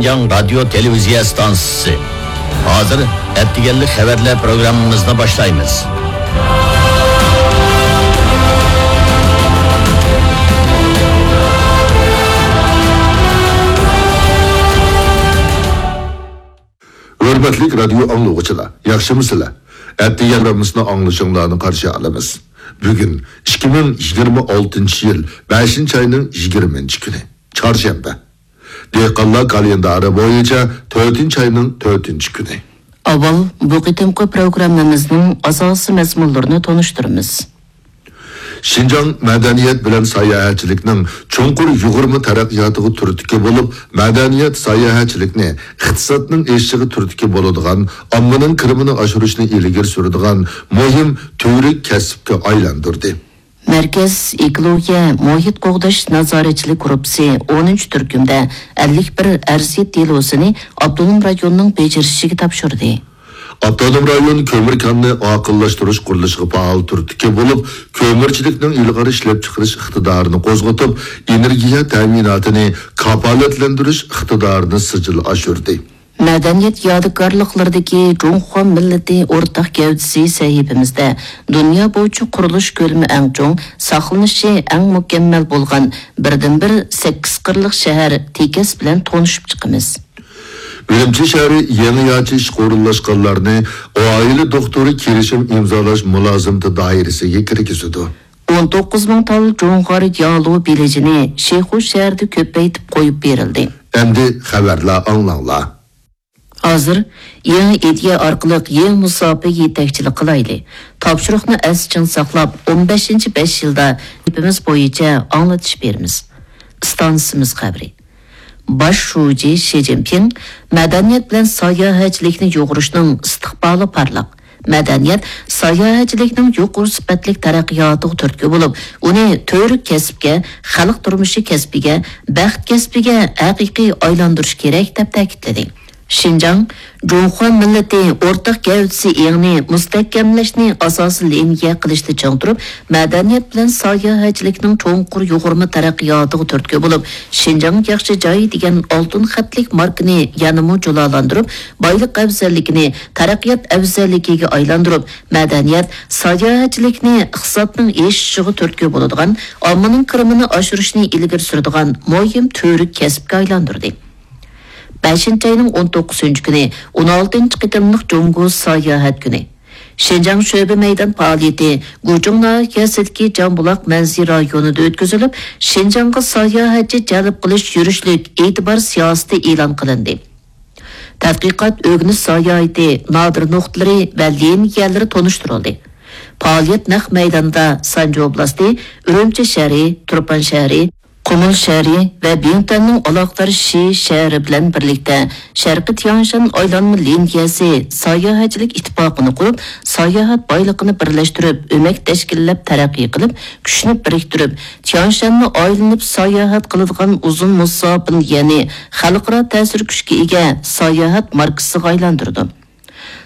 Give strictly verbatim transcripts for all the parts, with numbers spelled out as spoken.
شىنجاڭ رادىيو تېلېۋىزىيە ئىستانسىسى. ھازىر ئەتىگەنلىك خەۋەرلەر پروگراممىمىزنى باشلايمىز. ھۆرمەتلىك رادىيو ئاڭلىغۇچىلار، ياخشىمۇسىلەر؟ ئەتىگەن پروگراممىسىنى ئاڭلىشىڭلارنى قارشى ئالىمىز. بۈگۈن ئىككى مىڭ يىگىرمە ئالتىنچى يىل بەشىنچى ئاينىڭ يىگىرمىنچى كۈنى، چارشەنبە. دېھقانلار كالېندارى بويىچە تۆتىنچى ئاينىڭ تۆتىنچى كۈنى. ئاۋۋال بۇ قېتىمقى پروگراممىمىزنىڭ ئاساسىي مەزمۇنلىرىنى تونۇشتۇرىمىز. شىنجاڭ مەدەنىيەت بىلەن ساياھەتچىلىكنىڭ چوڭقۇر يۇغۇرما تەرەققىياتىغا تۈرتكە بولۇپ، مەدەنىيەت ساياھەتچىلىكنى ئىقتىسادنىڭ ئېشىشىغا تۈرتكە بولىدىغان، ئاممىنىڭ كىرىمىنى ئاشۇرۇشنى ئىلگىرى سۈرىدىغان مۇھىم تۈۋرۈك كەسىپكە ئايلاندۇردى. مەركەز ئېكولوگىيە مۇھىت قوغداش نازارەتچىلىك گۇرۇپپىسى ئونىنچى تۈركۈمدە ئەللىك بىر ئەرزىيەت دېلوسىنى ئاپتونوم رايوننىڭ بېجىرىشىگە تاپشۇردى. ئاپتونوم رايون كۆمۈر كانىنى ئاقىللاشتۇرۇش قۇرۇلۇشىغا پائال تۈرتكە بولۇپ، كۆمۈرچىلىكنىڭ ئىلغار ئىشلەپچىقىرىش ئىقتىدارىنى قوزغىتىپ، ئېنېرگىيە تەمىناتىنى كاپالەتلەندۈرۈش ئىقتىدارىنى سىجىل ئاشۇردى. مەدەنىيەت يادىكارلىقلىرىدىكى جۇڭخۇا مىللىتى ئورتاق گەۋدىسى سەھىپىمىزدە دۇنيا بويىچە قۇرۇلۇش كۆلىمى ئەڭ چوڭ، ساقلىنىشى ئەڭ مۇكەممەل بولغان بىردىنبىر سەككىز قىرلىق شەھەر تېكەس بىلەن تونۇشۇپ چىقىمىز. ئۈرۈمچى شەھىرى يېڭىچە ئىشقا ئورۇنلاشقانلارنى ئائىلە دوختۇرى كېلىشىم ئىمزالاش مۇلازىمىتى دائىرىسىگە كىرگۈزىدۇ. ئون توققۇز مىڭ تال جۇڭخۇا يالۇ بېلىجىنى شىخۇ شەھىرىدە كۆپەيتىپ قويۇپ بېرىلدى. ئەمدى خەۋەرلەر ئاڭلاڭلار. ھازىر يېڭى ئىدىيە ئارقىلىق يېڭى مۇساپىگە يېتەكچىلىك قىلايلى. تاپشۇرۇقنى ئەستە چىڭ ساقلاپ، ئون بەشىنچى بەش يىلدا گېپىمىز بويىچە ئاڭلىتىش بېرىمىز. ئىستانسىمىز خەۋىرى. باش شۇجى شى جىنپىڭ مەدەنىيەت بىلەن ساياھەتچىلىكنى يۇغۇرۇشنىڭ ئىستىقبالى پارلاق، مەدەنىيەت ساياھەتچىلىكنىڭ يۇقىرى سۈپەتلىك تەرەققىياتىغا تۈرتكە بولۇپ، ئۇنى تۈۋرۈك كەسىپكە، خەلق تۇرمۇشى كەسپىگە، بەخت كەسپىگە ھەقىقىي ئايلاندۇرۇش كېرەك، دەپ تەكىتلىدى. شىنجاڭ جۇڭخۇا مىللىتى ئورتاق گەۋدىسى ئېڭىنى مۇستەھكەملەشنى ئاساسىي لىنىيە قىلىشتا چىڭ تۇرۇپ، مەدەنىيەت بىلەن ساياھەتچىلىكنىڭ چوڭقۇر يۇغۇرما تەرەققىياتىغا تۈرتكە بولۇپ، شىنجاڭ ياخشى جاي دېگەن ئالتۇن خەتلىك ماركىنى يەنىمۇ جۇلالاندۇرۇپ، بايلىق ئەۋزەللىكىنى تەرەققىيات ئەۋزەللىكىگە ئايلاندۇرۇپ، مەدەنىيەت، ساياھەتچىلىكنى ئىقتىسادنىڭ ئېشىشىغا تۈرتكە بولىدىغان، ئاممىنىڭ كىرىمىنى ئاشۇرۇشنى ئىلگىرى سۈرىدىغان مۇھىم تۈۋرۈك كەسىپكە ئايلاندۇردى. بەشىنچى ئاينىڭ ئون توققۇزىنچى كۈنى، ئون ئالتىنچى قېتىملىق جۇڭگو ساياھەت كۈنى. شىنجاڭ شۆبە مەيدان پائالىيىتى گۇچۇڭ ناھىيەسىدىكى جامبۇلاق مەنزىرە رايونىدا ئۆتكۈزۈلۈپ، شىنجاڭغا ساياھەتچى جەلپ قىلىش يۈرۈشلۈك ئېتىبار سىياسىتى ئېلان قىلىندى. تەتقىقات، ئۆگىنىش ساياھىتى نادىر نۇقتىلىرى ۋە لىنىيەلىرى تونۇشتۇرۇلدى. پائالىيەت نەق مەيداندا سانجى ئوبلاستى، ئۈرۈمچى شەھىرى، تۇرپان شەھىرى، قۇمۇل شەھىرى ۋە بىڭتۈەننىڭ ئالاقىدار شى شەھىرى بىلەن بىرلىكتە شەرقىي تياڭشان ئايلانما لىنىيەسى ساياھەتچىلىك ئىتتىپاقىنى قۇرۇپ، ساياھەت بايلىقىنى بىرلەشتۈرۈپ، ئۆمەك تەشكىللەپ تەرەققىي قىلىپ، كۈچنى بىرىكتۈرۈپ، تياڭشاننى ئايلىنىپ ساياھەت قىلىدىغان ئۇزۇن مۇساپىنى، يەنى خەلقئارا تەسىر كۈچكە ئىگە ساياھەت ماركىسىغا ئايلاندۇرىدۇ.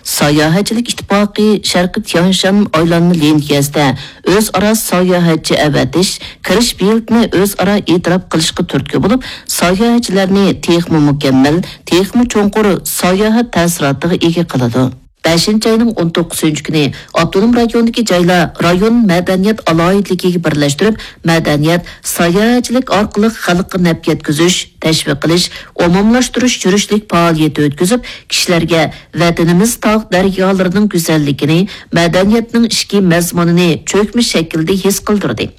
ساياھەتچىلىك ئىتتىپاقى شەرقىي تياڭشان ئايلانما لىنىيەسىدە ئۆزئارا ساياھەتچى ئەۋەتىش، كىرىش بېلىتىنى ئۆزئارا ئېتىراپ قىلىشقا تۈرتكە بولۇپ، ساياھەتچىلەرنى تېخىمۇ مۇكەممەل، تېخىمۇ چوڭقۇر ساياھەت تەسىراتىغا ئىگە قىلىدۇ. بەشىنچى ئاينىڭ ئون توققۇزىنچى كۈنى ئاپتونوم رايوندىكى جايلار رايون مەدەنىيەت ئالاھىدىلىكىگە بىرلەشتۈرۈپ، مەدەنىيەت، ساياھەتچىلىك ئارقىلىق خەلققە نەپ يەتكۈزۈش، تەشۋىق قىلىش، ئومۇملاشتۇرۇش يۈرۈشلۈك پائالىيىتى ئۆتكۈزۈپ، كىشىلەرگە ۋەتىنىمىز تاغ دەريالىرىنىڭ گۈزەللىكىنى، مەدەنىيەتنىڭ ئىچكى مەزمۇنىنى چۆكمە شەكىلدە ھېس قىلدۇردى.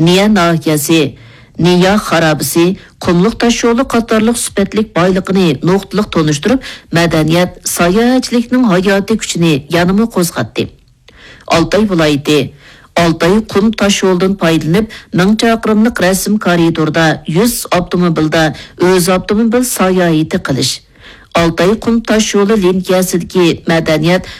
نىيە ناھىيەسى، نىيا خارابىسى، قۇملۇق تاشيولى قاتارلىق سۈپەتلىك بايلىقىنى نۇقتىلىق تونۇشتۇرۇپ، مەدەنىيەت، ساياھەتچىلىكنىڭ ھاياتىي كۈچىنى يەنىمۇ قوزغاتتى. ئالتاي ۋىلايىتى، ئالتاي قۇم تاشيولىدىن پايدىلىنىپ، مىڭ چاقىرىملىق رەسىم كارىدوردا يۈز ئاپتوموبىلدا ئۆز ئاپتوموبىل ساياھىتى قىلىش، ئالتاي قۇم تاشيولى لىنىيەسىدىكى مەدەنىيەت،